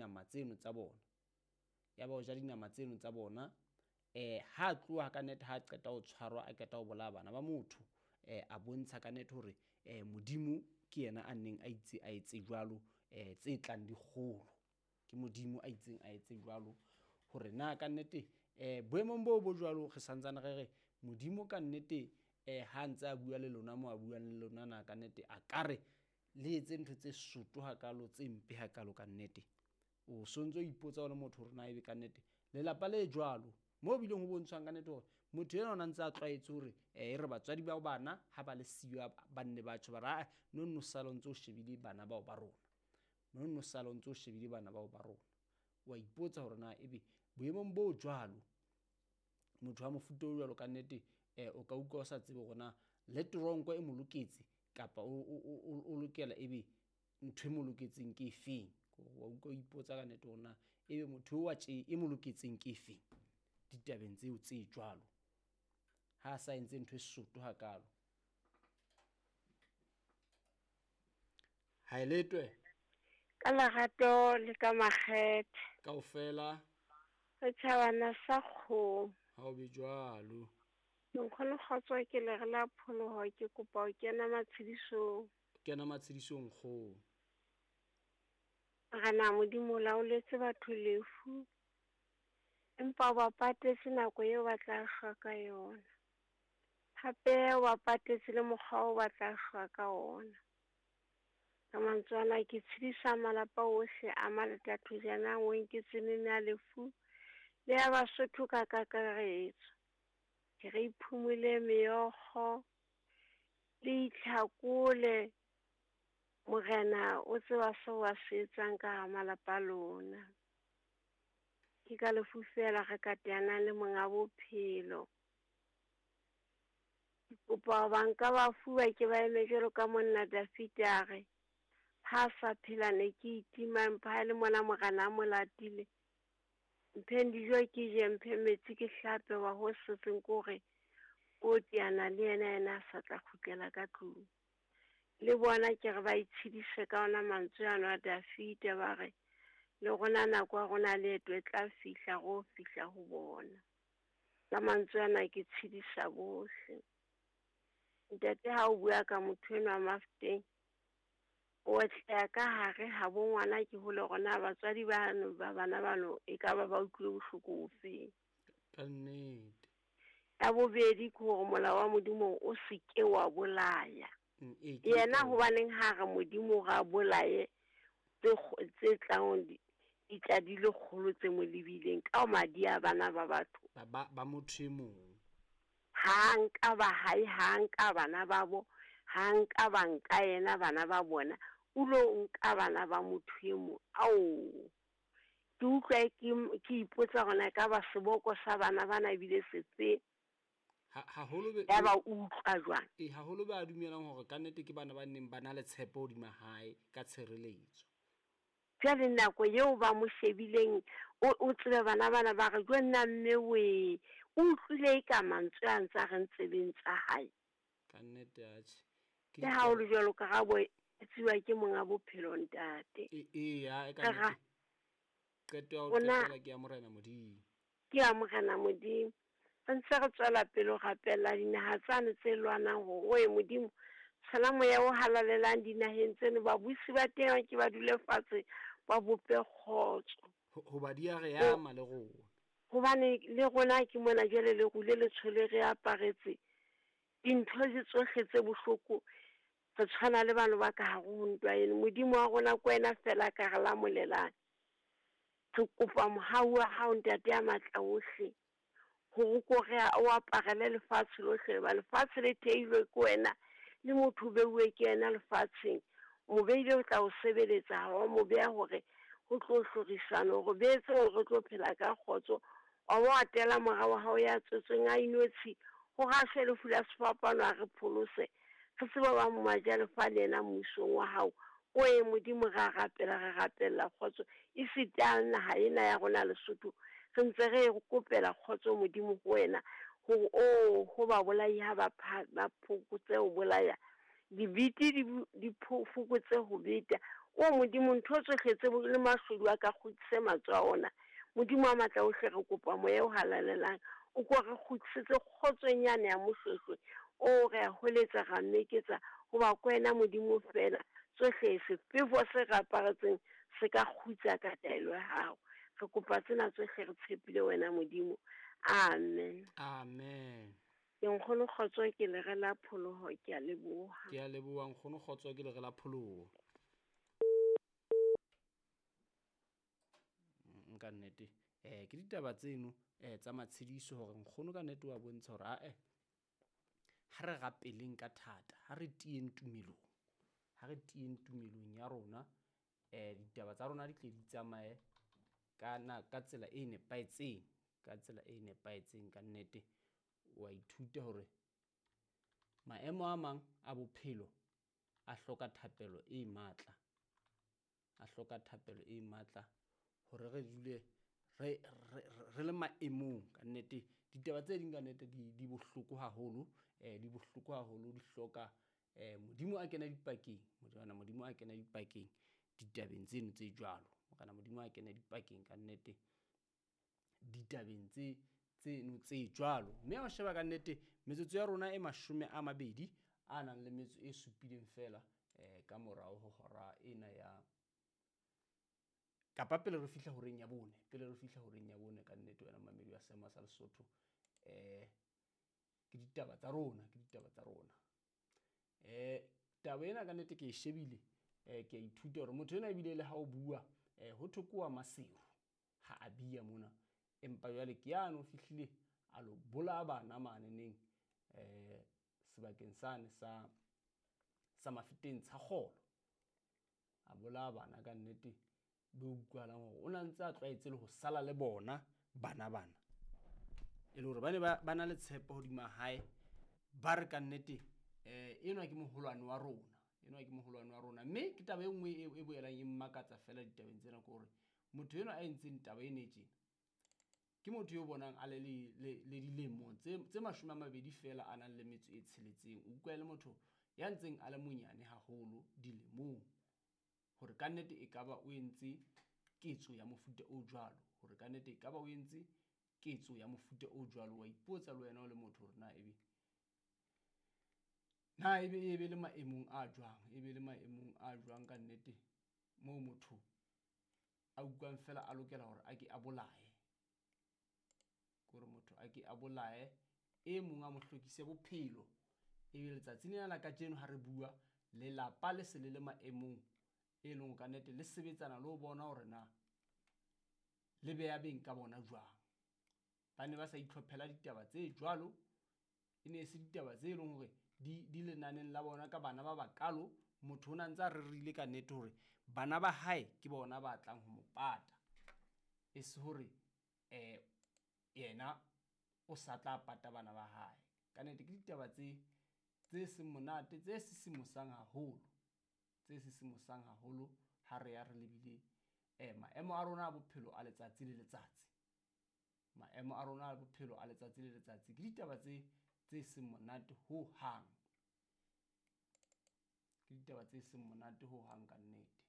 dinama tseno tsa bona. Yaba o ja dinama tseno tsa bona. Ha a tloha ka nnete, ha a qeta ho tshwarwa, a qeta ho bolaya bana ba motho, a bontsha ka nnete hore Modimo ke yena a neng a itse a etse jwalo, tse tlang di kgolo. Ke Modimo a itseng a etse jwalo hore na ka nnete boemong boo bo jwalo re santsane re re Modimo ka nnete ha ntse a bua le lona mo a buang le lona na ka nnete a ka re le etse ntho tse soto hakalo, tse mpe hakalo ka nnete. O sontso o ipotsa o le motho hore na ebe ka nnete lelapa le jwalo mo bileng ho bontshwang ka nnete hore motho enwa o na ntse a tlwaetse hore e re batswadi ba bana ha ba le siyo ba nne ba tjho ba re, "Aa, no nno sala o ntso o shebile bana bao ba rona, no nno sala o ntso o shebile bana bao ba rona." Wa ipotsa hore na ebe boemong bo jwalo motho wa mofuta o jwalo ka nnete o ka utlwa o sa tsebe hore na le toronko e mo loketse kapa o lokela ebe ntho e mo loketseng ke efeng. Wa utlwa o ipotsa ka nnete hore na ebe motho wa tje e mo loketseng ke efeng ditabeng tseo tse jwalo, ha a sa entse ntho e soto hakalo. Ha e letwe ka lerato le ka makgethe kaofela setjhabana sa kgomo. Ha o be jwalo. Nkgono kgotso, ke le re la pholoho, ke kopa ho kena matshedisong. Kena matshedisong kgomo. Morena Modimo o laoletse batho lefu, empa o ba patetse nako eo ba tla shwa ka yona. Hape o ba patetse le mokgwa o ba tla shwa ka ona. Ka mantswe ana ke tshedisa malapa ohle a Maletathojana o nketse ya lefu le ya Basotho ka kakaretso. Ke re iphumule meokgo le itlhakole, Morena o tseba seo a se etsang ka hara malapa a lona. Ke ka lefu fela re ka teanang le monga bophelo. Ke kopa banka bafu ba ke ba eme jwalo ka monna Dafita a re, ha sa phela ne ke itima, empa ha le mona Morena a mo latile. Mpheng dijo ke je, mphe metsi ke hlape, wa ho setseng ke hore o teana le yena, yena a sa tla kgutlela ka tlung. Le bona ke re ba itshedise ka ona mantswe ano a Dafita, ba re le rona nako ya rona leeto e tla fihla, ro fihla ho bona. Ka mantswe ana ke tshedisa bohle. Ntate ha o bua ka motho enwa Mafteng, o tla ka hare ha bo ngwana ke hole rona batswadi bano ba bana bano e ka ba ba utlwile bohloko bofeng. Ka nnete. Ya bobedi ke hore molao wa Modimo o se ke wa bolaya. Yena hobaneng ha re Modimo ra bolaye tse tlang di tla di le kgolo tse mo lebileng ka madi a bana ba batho. Ba motho e mong. Ha nka ba hae, ha nka bana ba bo, ha nka ba nka yena bana ba bona, o lo nka bana ba motho e mong. Ao, ke utlwa ke ipotsa hore na ka ba seboko sa bana bana ebile sefe. Haholo be ya ba utlwa jwang. Haholo ba dumelang hore ka nnete ke bana ba neng ba na le tshepo hodima hae ka tshireletso. Jwale nako eo ba mo shebileng, o tsebe bana bana ba re jwe nna mme we, o utlwile ka mantswe a ntse a re ntsebeng tsa hae. Ka nnete atjhe. Le ha o le jwalo karabo e tsiwa ke monga bophelo ntate. Ya ka nnete. Qeto ya ho qetela ke ya Morena Modimo. Ke ya Morena Modimo. Re ntse re tswela pele ho rapella dinaha tsane tse lwanang hore oe Modimo, tshela moya o halalelang dinaheng tseno, babusi ba teng ke ba dule fatshe ba bope kgotso. Hoba di a re ama le rona. Hobane le rona ke mona jwale le rule le tshole re aparetse dintho tse tsohle tse bohloko, re tshwana le bano ba ka hare ho ntwa eno. Modimo wa rona ke wena fela ka re lamolelang. Re kopa mohau wa hao ntate ya matla ohle, hore ko re o aparele lefatshe lohle, ba lefatshe le theilwe ke wena, le motho o beuwe ke yena lefatsheng. O beile o tla o sebeletsa, ha wa mo beha hore ho tlo hlorisana, hore beetse hore re tlo phela ka kgotso. Wa bo atela mora wa hao ya tswetsweng a inotshi, hore a shwe lefu la sefapano a re pholose, re tsebe ba majalefa le yena mmusong wa hao. Oe Modimo re a rapela, re rapella kgotso esita le naha ena ya rona Lesotho, re ntse re kopela kgotso Modimo ho wena, hore o ho ba bolai ha ba phokotse ho bolaya, dibiti di fokotse ho beta, O Modimo, ntho tsohle tse le mashodu a ka kgutlise matsoho a ona. Modimo wa matla ohle, re kopa moya o halalelang o ko re kgutlisetse kgotsong yane ya Moshweshwe. O re a hweletsa, ra meketsa, hoba ke wena Modimo fela. Tsohle sefefo se re aparetseng se ka kgutsa ka taelo ya hao. Re kopa tsena tsohle re tshepile wena Modimo. Amen. Amen. Ke nkgono Kgotso, ke lere la pholoho, ke a leboha. Ke a leboha nkgono Kgotso, ke lere la pholoho. Nka nnete ke ditaba tseno tsa matshediso hore nkgono ka nnete wa bontsha hore ae ha re rapeleng ka thata, ha re tieng tumelong, ha re tieng tumelong ya rona, ditaba tsa rona di tle di tsamaye ka na ka tsela e nepahetseng, ka tsela e nepahetseng. Ka nnete wa ithuta hore maemo a mang a bophelo a hloka thapelo e matla, a hloka thapelo e matla hore re dule re re le maemong. Ka nnete ditaba tse ding ka nnete di bohloko haholo, di bohloko haholo, di hloka Modimo a kena dipakeng, Morena Modimo a kena dipakeng ditabeng tseno tse jwalo. Morena Modimo a kena dipakeng ka nnete ditabeng tse tseno tse jwalo. Mme ha o sheba ka nnete metsotso ya rona e 27 a nang le metso e supileng fela ka morao ho hora ena ya kapa pele re fihla horeng ya bone, pele re fihla horeng ya bone. Ka nnete wena mamedi wa seema sa Lesotho, ke ditaba tsa rona, ke ditaba tsa rona. Taba ena ka nnete ke e shebile, ke a ithuta hore motho ena ebile le ha o bua ho thokoa Maseru ha a bia mona, empa jwale ke yane o fihlile a lo bolaya bana mane neng sebakeng sane sa Mafeteng Tshakgolo, a bolaya bana ka nnete be utlwahalang hore o na ntse a tlwaetse le ho sala le bona bana bana, e le hore ba ne ba na le tshepo hodima hae, ba re ka nnete enwa ke moholwane wa rona, enwa ke moholwane wa rona. Mme ke taba e nngwe e boelang e mmakatsa fela ditabeng tsena, ke hore motho enwa a entseng taba ena e tjena ke motho yo bonang a le le dilemo tse 20 fela, a nang le metso e 6. O utlwa le motho ya ntseng a le monyane haholo dilemong, hore ka nnete e kaba o entse ketso ya mofuta o jwalo, hore ka nnete e kaba o entse ketso ya mofuta o jwalo. Wa ipotsa le wena o le motho hore na ebe e be le maemong a jwang, e be le maemong a jwang ka nnete, moo motho a utlwang fela a lokela hore a ke a bolaye, hore motho a ke a bolaye e mong a mo hlokise bophelo. Ebe letsatsi lena la kajeno ha re bua, lelapa le se le le maemong e leng ka nnete le sebetsana le ho bona hore na le beya beng ka bona jwang. Ba ne ba sa itlhophela ditaba tse jwalo, e ne se ditaba tse leng hore di lenaneng la bona ka bana ba bakalo. Motho o na ntse a rerile ka nnete hore bana ba hae ke bona ba tlang ho mo pata, e se hore yena o sa tla pata bana ba hae. Ka nnete ke ditaba tse seng monate, tse sisimosang haholo, tse sisimosang haholo ha re ya re lebile maemo a rona a bophelo a letsatsi le letsatsi, maemo a rona a bophelo a letsatsi le letsatsi. Ke ditaba tse seng monate ho hang, ke ditaba tse seng monate ho hang ka nnete.